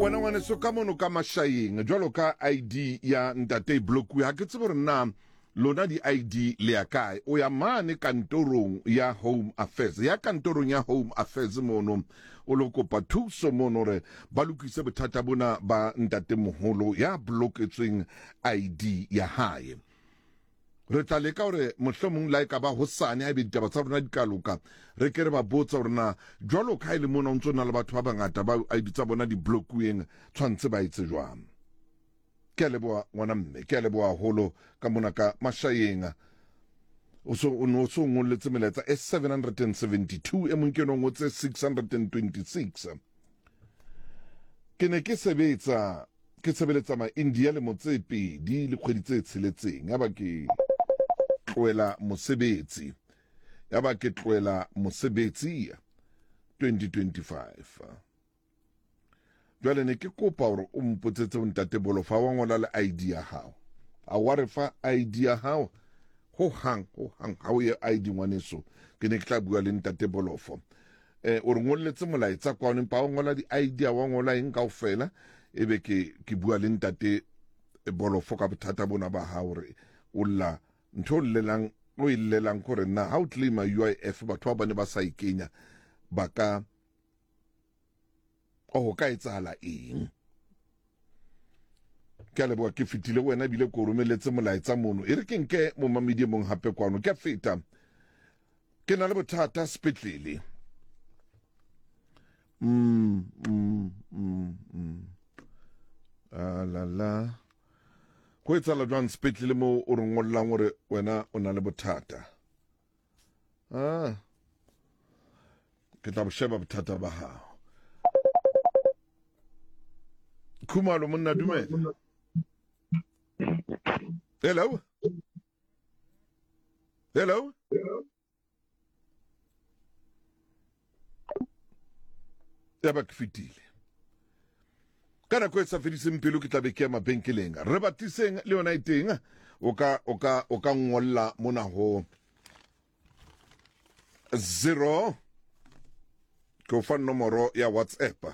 Wena ngwaneso ka mono ka Mashayeng jwalo ka ID ya ntate e blokuwe, ha ke tsebe hore na lona di-ID le ya kae. O ya mane kantorong ya Home Affairs, ya kantorong ya Home Affairs mono o lo kopa thuso mono hore ba lokise bothata bona ba ntatemoholo ya bloketsweng ID ya hae. Re tla leka hore mohlomong la e ka ba hosane haebe ditaba tsa rona di ka loka, re ke re ba botse hore na jwalo ka ha e le mona o ntso na le batho ba bangata ba ID tsa bona di blokuweng, tshwantse ba etse jwang. Ke a leboha ngwana mme, ke a leboha haholo ka mona ka Mashayeng. O so o no so ngolletse melaetsa e 772, e mong ke no ngotse 626. Ke ne ke sebetsa ke sebeletsa ma-India lemo tse pedi le kgwedi tse tsheletseng, yaba ke tlohela mosebetsi, yaba ke tlohela mosebetsi 2025. Jwale ne ke kopa hore o mpotsetse ho ntate Bolofa wa ngola le ID ya hao. A wa re fa ID ya hao ho hang ho hang ha o ye ID ngwaneso. Ke ne ke tla bua le ntate Bolofo. Eh o re ngolletse molaetsa kwano empa o ngola di ID a wa ngola eng kaofela ebe ke ke bua le ntate Bolofo ka bothata bona ba hao hore o lla ntho o llelang o e llelang kore na ha o claima UIF batho ba bane ba sa e kenya ba ka o ka etsahala eng ke a leboha ke fetile wena ebile ko romeletse molaetsa mono e re ke nke momamedi e mong hape kwano ke a feta ke na le bothata sepetlele mm, mm, mm, mm. Ah, la la go etsala jwang sepetlele moo o re ngollang gore wena o na le bothata Ah. Ke tla bo sheba bothata ba hao. Khumalo monna dumela. Hello. Hello. Ya ba ke fetile. Ka nako e sa fediseng pelo ke tla be ke ya mabenkeleng. Re batiseng le yona e teng. O ka o ka o ka ngolla mona ho 0 ke o fa nomoro ya WhatsApp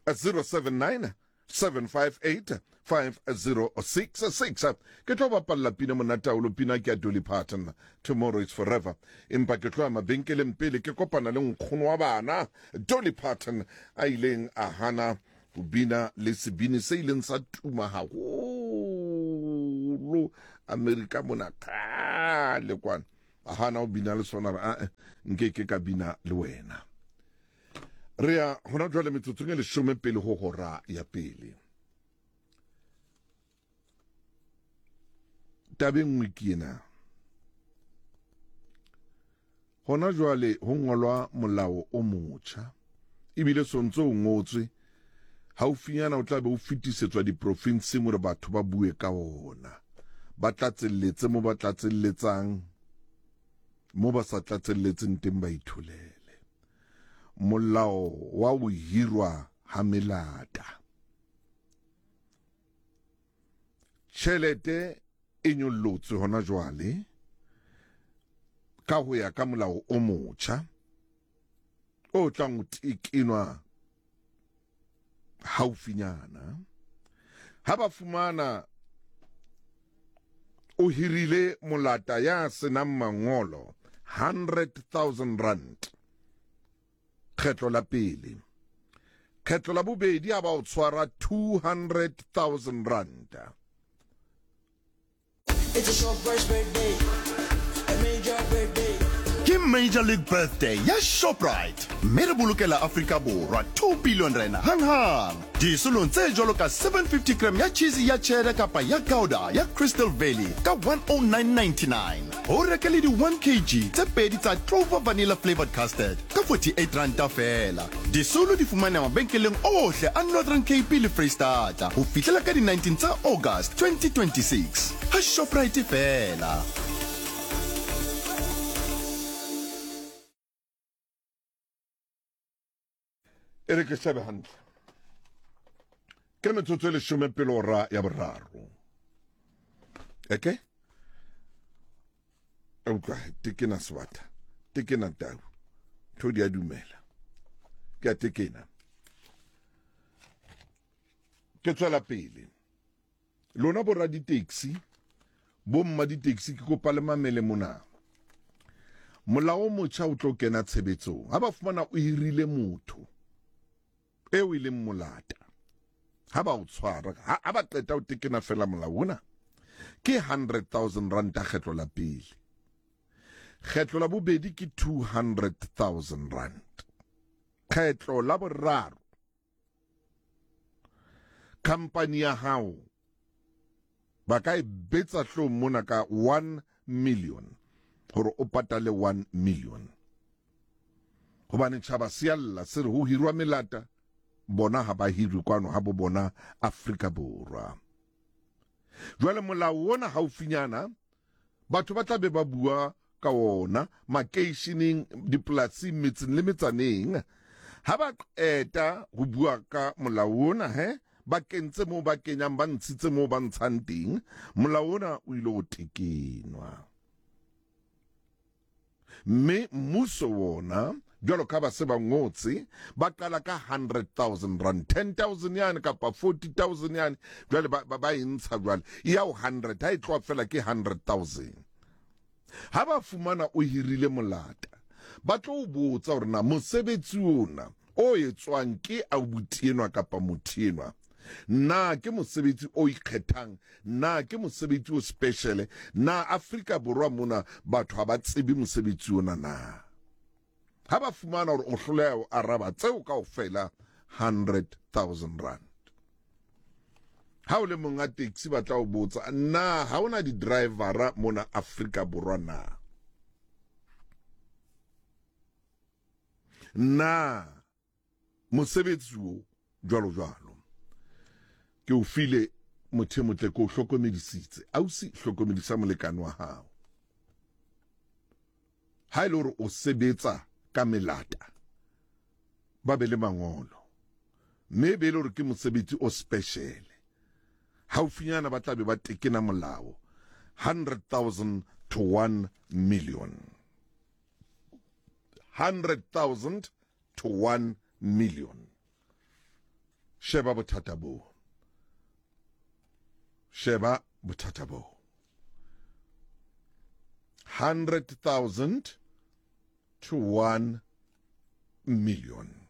079 758 5066 ke tlo bapalla pina monataolo pina ke ya Dolly Parton Tomorrow is Forever empa ke tlo ya mabenkeleng pele ke kopana le nkgono wa bana Dolly Parton a ileng a hana ho bina le sebini se ileng sa tuma haholo Amerika mona kgale kwana a hana ho bina le sona re ae nke ke ka bina le wena re ya hona jwale metsotsong e leshome pele ho hora ya pele Taba e nngwe ke ena. Hona jwale ho ngolwa molao o motjha ebile sontse o ngotswe haufinyana o tla be o fetisetswa diprofinseng hore batho ba bue ka ona ba tlatselletse mo ba tlatselletsang mo ba sa tlatselletseng teng ba itholele molao wa ho hirwa ha melata Tjhelete e nyollotswe hona jwale ka ho ya ka molao o motjha o tlang ho tekenwa haufinyana. Ha ba fumana o hirile molata ya senang mangolo 100,000 rand. Kgetlo la pele. Kgetlo la bobedi a ba o tshwara 200,000 ranta. It's a Shoprite birthday, a major birthday. Ke Major League Birthday ya Shoprite mme re bolokela Afrika Borwa 2 billion rand hanghang disolong tse jwalo ka 750 gram ya cheese ya cheddar kapa ya gouda ya Crystal Valley ka 109.99 o reke le di 1 kg tse pedi tsa Clover Vanilla Flavored Custard ka 48 ranta feela. Disolo di fumaneha mabenkeleng ohle a Northern Cape le Freistata ho fihlela ka di 19 tsa August 2026. Ha Shoprite feela. E re ke shebe hantle. Ke metsotso e leshome pele ora ya boraro. Eke? Utlwa, tekena sebata, tekena tau, ntho di a dumela. Ke a tekena. Ke tswela pele. Lona boraditaxi, bomma ditaxi, ke kopa le mamele mona. Molao o motjha o tlo kena tshebetsong. Ha ba fumana o hirile motho eo e leng molata, ha ba o tshwara, ha ba qeta o tekena fela molao ona, ke 100,000 ranta kgetlo la pele. Kgetlo la bobedi ke 200,000 rand. Kgetlo la boraro, Khampani ya hao ba ka e betsa hlong mona ka 1 million hore o patale 1 million. Hobane tjhaba se a lla se re ho hirwa melata, bona ha ba hirwe kwano ha bo bona Afrika Borwa. Jwale molao ona haufinyana Batho ba tla be ba bua ka wona makeisheneng, dipolasing, metseng le metsaneng. Ha ba qeta ho bua ka molao ona, he, ba kentse moo ba kenyang, ba ntshitse moo ba ntshang teng, molao ona o ile ho tekenwa. Mme mmuso wona, jwalo ka ba se ba ngotse, ba qala ka 100,000 rand, 10,000 yane kapa 40,000 yane, jwale ba, ba, ba e ntsha jwale, e ya ho 100, ha e tloha fela ke 100,000. Ha ba fumana o hirile molata, ba tlo o botsa hore na mosebetsi ona o etswang ke abuti enwa kapa motho enwa, na ke mosebetsi o ikgethang, na ke mosebetsi o special, na Afrika Borwa mona batho ha ba tsebe mosebetsi ona na? Ha ba fumana hore o hloleha ho araba tseo kaofela, 100,000 rand. Ha o le monga taxi ba tla o botsa, na ha ona di-drivera mona Afrika Borwa na? Na mosebetsi wo jwalo jwalo ke o file motho e motle, ke o hlokomedisitse. Ausi, hlokomedisa molekane wa hao. Ha e le hore o sebetsa ka melata, ba be le mangolo, mme e be e le hore ke mosebetsi o special, haufinyana ba tla be ba tekena molao 100,000 to 1 million. 100,000 to 1 million. Sheba bothata boo. Sheba bothata boo. 100,000 to 1 million.